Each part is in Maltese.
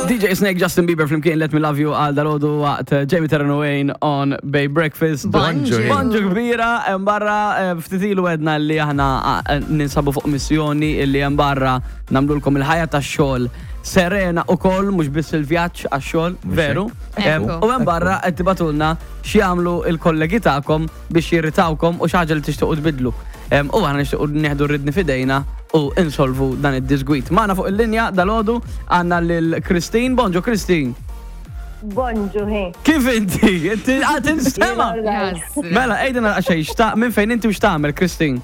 DJ Snake, Justin Bieber flimkien Let Me Love You għal dalodu waqt eh, Jamie Terran Wayne on Bay Breakfast. Bonġu. Bonġu kbira, hemm barra eh, ftit ilu għedna li aħna eh, ninsabu fuq missjoni illi hemm barra nagħmlulkom il-ħajja tax-xogħol serena u koll, mhux biss il-vjaġġ għax-xogħol, veru. Ekku. U hemm barra qed tibatulna x'jagħmlu il-kollegi tagħkom biex jirritawkom u xi ħaġa li tixtiequ tbiddlu. U aħna nixtiequ nieħdu r-ridni f'idejna u insolvu dan id-disgwit. Magħna fuq il-linja dalgħodu għandna lil Christine. Bonġu Christine. Bonġu hi. Kif inti? Inti għad tinstema'. Mela, għidilna xejn xta' minn fejn inti u x'tagħmel Christine?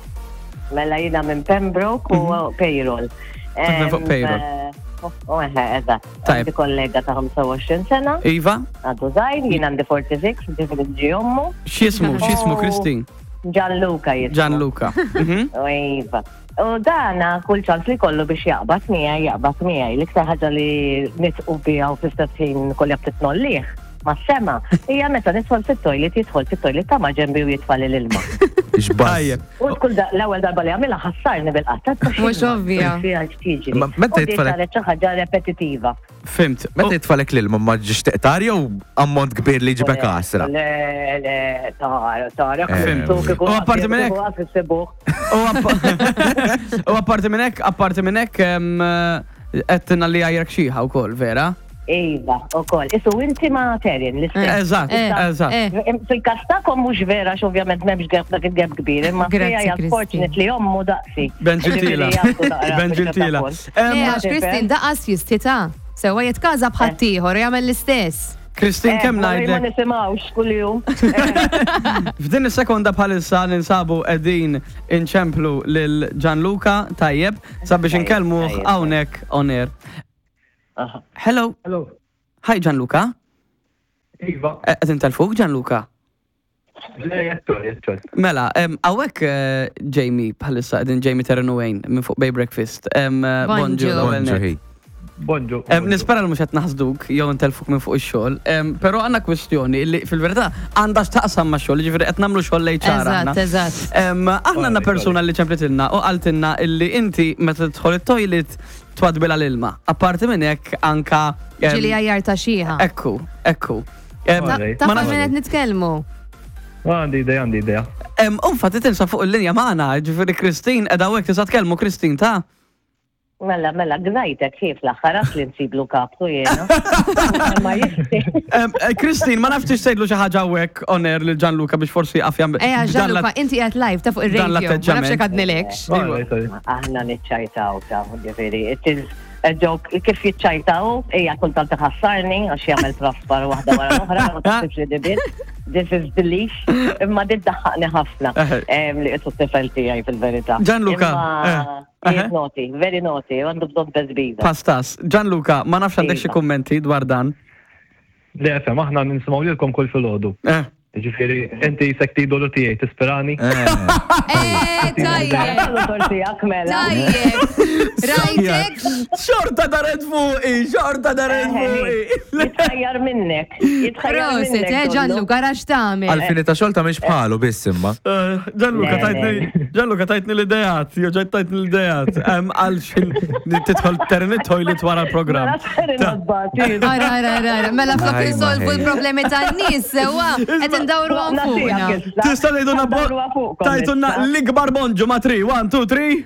Mela jiena minn Pembroke u mhm. payroll. Taħdem fuq payroll. Eh, u eħe, eżatt. Għandi kollega ta' 25 sena. Iva. Għadu żgħir, jien għandi 46, ġifieri ġi ommu. X'jismu, x'jismu Christine? Gianluca jismu. Gianluca. Mhm. Iva. U dana kull ċans li kollu biex jaqbad miegħi, jaqbad miegħi. L-iktar ħaġa li nitqu biha u fl-istess ħin kolli ftit nollih ma' sema, hija meta nidħol fit-toilet jidħol fit-toilet ta' ma' ġembi u jitfali l-ilma. X'baż. U kull l-ewwel darba li għamilha ħassarni bil-qatta. Mhux ovvja. Meta jitfalek. Saret xi ħaġa repetitiva. Fimt. Meta jitfalek l-ilma ma ġiex teqtar jew ammont kbir li ġibek għasra? Le, le, tara, tara. Eh, U apparti minn hekk. U apparti minn hekk, apparti minn hekk, qed li għajrek xieħa wkoll, vera? Iva, u koll. Isu inti ma Terin, l-istess. Eżatt, Eh, eżatt. eh. Fil-kas tagħkom mhux vera x'ovvjament m'hemmx gap dak il-gap kbir, imma Grazzi, fija Christine. fortunately ommu daqsi. Benġiltila. Ġifieri għandu naqra Benġiltila. fil-katakol. Le, għax Christine daqas jistita. Sewa jitkaza bħaddieħor u jagħmel l-istess. Christine, Eh, kemm ma ngħidlek? nisimgħux kuljum. F'din is-sekonda bħalissa ninsabu qegħdin inċemplu lil Gianluca tajjeb sabiex Tajjeb, inkellmuh tajjeb. hawnhekk on air. Aha. Hello. Hello. Hi Gianluca. Iva. Eh, Qed intelfuk Gianluca? Le, jettor, jettor. Mela, hawnhekk eh, Jamie bħalissa qegħdin Jamie Terran Wayne minn fuq Bay Breakfast. Em, eh, Bonġu. l-ewwel Bonġu nett. hi. Bonġu. Nispera li mhux qed naħsduk jew intelfuk minn fuq ix-xogħol, però għandna kwistjoni li fil-verità għandha x'taqsam max-xogħol, jiġifieri qed nagħmlu xogħol l-HR aħna. Eżatt, eżatt. Aħna għandna persuna li ċemplitilna u qaltilna illi inti meta tidħol it-toilet twadbilha l-ilma. Apparti minn hekk anka. Ġieli għajjar ta' xieħa. Ekku, ekku. Ta' minn qed nitkellmu. Għandi idea, għandi idea. Infatti tinsa fuq il-linja magħna, ġifieri Christine qiegħda hawnhekk tista' tkellmu Christine ta' Mela, mela, gnajtek kif l-aħħar għax li nsiblu kaptu jiena. Ma jisti. Eh, Christine, ma nafx tgħidlu xi ħaġa hawnhekk on air lil Gianluca biex forsi jaqaf jagħmel. Ejja, Gianluca, inti qiegħed live ta' fuq ir-radio. Ma nafx jekk għadnilekx. Aħna niċċajtaw ta' ġifieri, it is a joke kif jiċċajtaw, hija kultant iħassarni għax jagħmel traspar waħda wara l-oħra, ma taħsibx li dibit. This is belief, imma dit daħħaqni ħafna li qisu t-tifel tiegħi fil-verità. Gianluca, eh. He naughty, very naughty, għandu bżonn tezbiza. Pastas. Gianluca, ma nafx għandek xi Iva. kummenti dwar dan. Le, FM, aħna nisimgħu lilkom kull filgħodu. Eh. Ġifieri, inti jisek tidolu tiegħi tispirani. Eh, tajjeb. Tiegħek mela. Tajjeb. Rajtek. Xorta daret fuqi, xorta daret Eh, fuqi. Jitħajjar minnek. Jitħajjar Prosit, minnek. eh, Donnu. Gianluca, rax tagħmel. Għalfini ta' xogħol ta' mhix bħalu biss imma. Eh, Gianluca Le, tajtni, Gianluca tajtni l-idejat, jo ġajt tajtni l-idejat. Em, Għal xin titħol terin it-toilet wara l-program. Ara, ara, ara, ara. Mela flok Ajma, insolvu ħej. l-problemi tan-nies sewwa qed indawru għan fuqna. Tista' tgħidulna bo- tajtulna l-ikbar bonġu ma' 3, 1, 2, 3.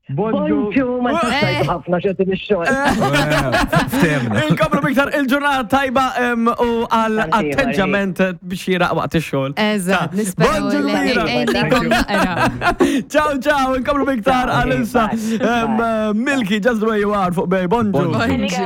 Bonġu. Bonġu, ma Eh. ħafna xogħol ix-xogħol. Ftemna. Inkomplu biktar il-ġurnata tajba em, u għal Tanti, atteġġament biex jiraq waqt ix-xogħol. Eżatt, Ta' nisperaw Bonġu li kbira. għejnikom naqra. Ciao, ciao, inkomplu biktar Ciao, għal issa. bye. Em, Bye. Milky, just the way you are fuq bej, bonġu. Bonġu. Bonġu.